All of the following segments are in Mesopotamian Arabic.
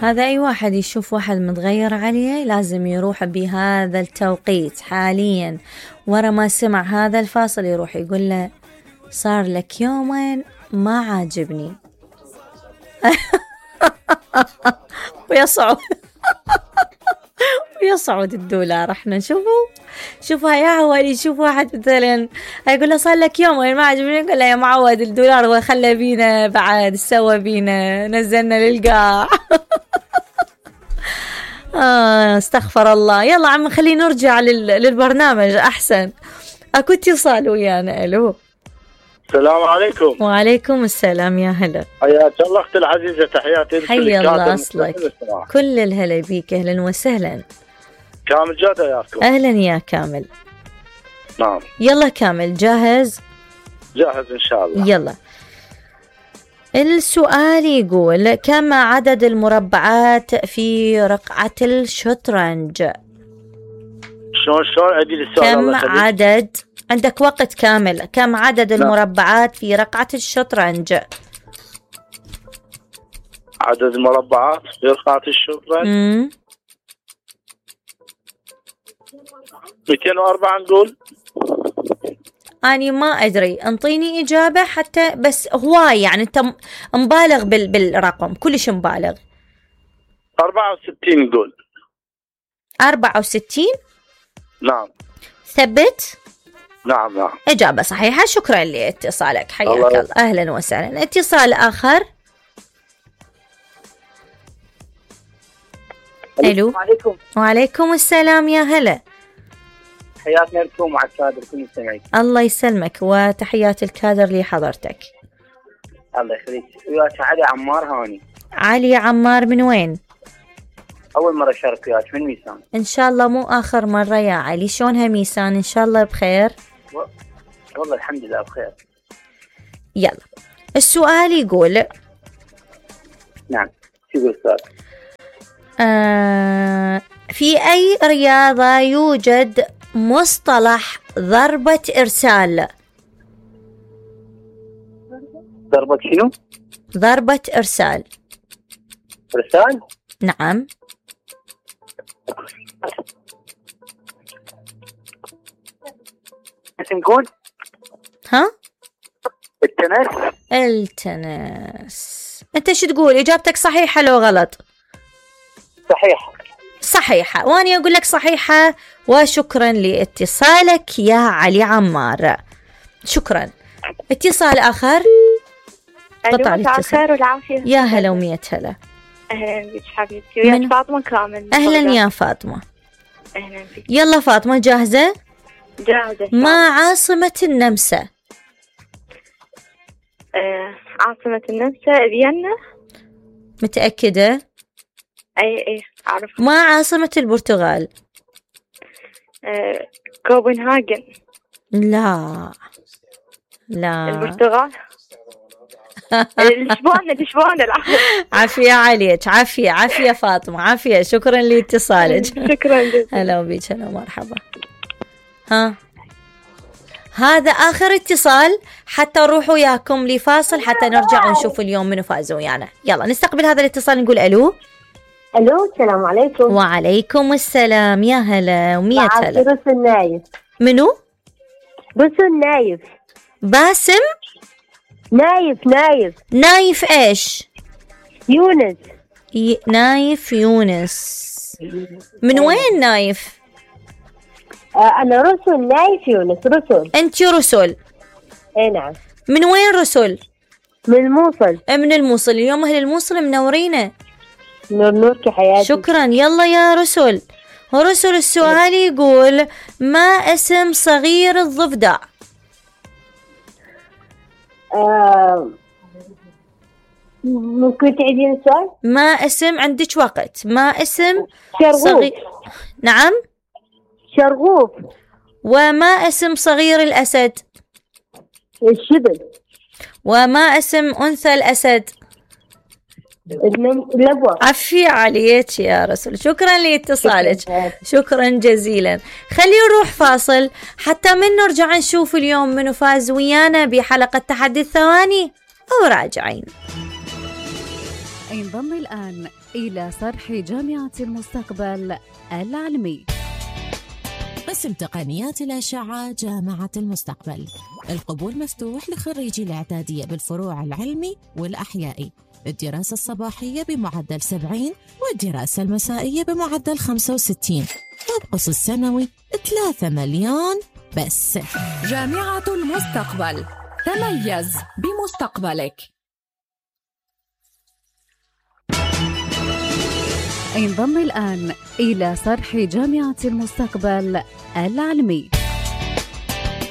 هذا أي واحد يشوف واحد متغير عليه لازم يروح بهذا التوقيت حاليا ورا ما سمع هذا الفاصل يروح يقول له صار لك يومين ما عاجبني. ويصعد الدولار. احنا شوفوا يا عوالي، شوف واحد مثلا يقول له صار لك يومين ما عجبني، يقول له يا معود الدولار وخلى بينا بعد سوى بينا نزلنا للقاع. استغفر الله. يلا عم خلينا نرجع للبرنامج احسن. اكو اتصال ويانا. الو السلام عليكم. وعليكم السلام. يا هلا، حياك الله اختي العزيزه، تحياتي. حي الله اصلك. كل الهلا بيك، اهلا وسهلا. كامل جاد وياكم. اهلا يا كامل. نعم. يلا كامل جاهز؟ جاهز ان شاء الله. يلا. السؤال يقول كم عدد المربعات في رقعة الشطرنج؟ شلون عيدي السؤال؟ كم عدد، عندك وقت كامل، كم عدد المربعات في رقعة الشطرنج؟ عدد المربعات في رقعة الشطرنج 204 نقول. أنا ما أدري، انطيني إجابة حتى بس هواي يعني أنت مبالغ بالرقم، كلش مبالغ. 64 نقول. 64؟ نعم. ثبت؟ نعم. إجابة صحيحة، شكرا لاتصالك، حياك الله. أهلا وسهلا. اتصال آخر. ألو. عليكم. وعليكم السلام. يا هلا، حياتنا لكم مع الكادر كل المستمعين. الله يسلمك وتحيات الكادر لحضرتك. الله يخليك. وياك علي عمار هاني. علي عمار من وين؟ أول مرة أشارك وياك من ميسان. إن شاء الله مو آخر مرة يا علي. شلونها ميسان؟ إن شاء الله بخير. والله الحمد لله بخير. يلا السؤال يقول. نعم. شو يقول السؤال؟ في أي رياضة يوجد مصطلح ضربة إرسال؟ ضربة شنو؟ ضربة إرسال. إرسال؟ نعم. نقول ها؟ التنس. أنت شو تقول؟ إجابتك صحيحة لو غلط؟ صحيحة، وأنا أقول لك صحيحة. وشكرا لاتصالك يا علي عمار، شكرا. اتصال آخر. قطع الاتصال. والعافية. يا هلا ومية هلا. أهلا بك حبيبتي. وياك فاطمة كامل. أهلا يا فاطمة. أهلا بك. يلا فاطمة جاهزة؟ جاهزة. ما عاصمة النمسا؟ عاصمة النمسا فيينا. متأكدة؟ اي اعرف. ما عاصمة البرتغال؟ كوبنهاجن. لا البرتغال. لشبونة عافية عليك، عافية فاطمة، عافية. شكرا لاتصالك. شكرا جزيلا. هلا بيك. هلا مرحبا. هذا آخر اتصال حتى نروح وياكم لفاصل حتى نرجع ونشوف اليوم منو فاز ويانا. يلا نستقبل هذا الاتصال. نقول ألو. السلام عليكم. وعليكم السلام. يا هلا ومية هلا. رسل نايف. منو؟ رسل نايف. باسم نايف ايش؟ يونس. نايف يونس. من وين نايف؟ أنا رسل نايف يونس. رسل. أنت رسل؟ اي نعم. من وين رسل؟ من الموصل. من الموصل. اليوم أهل الموصل منورينا. نورك حياتي. شكرا. يلا يا رسل. السؤال يقول ما اسم صغير الضفدع؟ ممكن تعيدين السؤال؟ ما اسم، عندك وقت. ما اسم شرغوف. نعم شرغوف. وما اسم صغير الأسد؟ الشبل. وما اسم أنثى الأسد؟ اللبوة. عفي عليك يا رسول. شكرا لاتصالك. شكرا جزيلا. خلينا نروح فاصل حتى من نرجع نشوف اليوم منو فاز ويانا بحلقة تحدي الثواني أو راجعين. انضم الآن إلى صرح جامعة المستقبل العلمي. قسم تقنيات الأشعة جامعة المستقبل. القبول مفتوح لخريجي الإعدادية بالفروع العلمي والأحيائي، الدراسة الصباحية بمعدل 70 والدراسة المسائية بمعدل 65، وابقص السنوي 3 مليون بس. جامعة المستقبل، تميز بمستقبلك. انضم الآن إلى صرح جامعة المستقبل العلمي.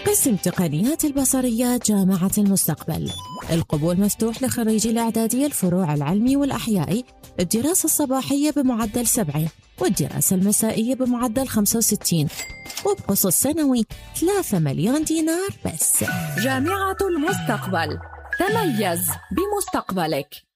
قسم تقنيات البصريات جامعة المستقبل. القبول مفتوح لخريجي الإعدادية الفروع العلمي والأحيائي، الدراسة الصباحية بمعدل 70 والدراسة المسائية بمعدل 65، وابقص السنوي 3 مليون دينار بس. جامعة المستقبل، تميز بمستقبلك.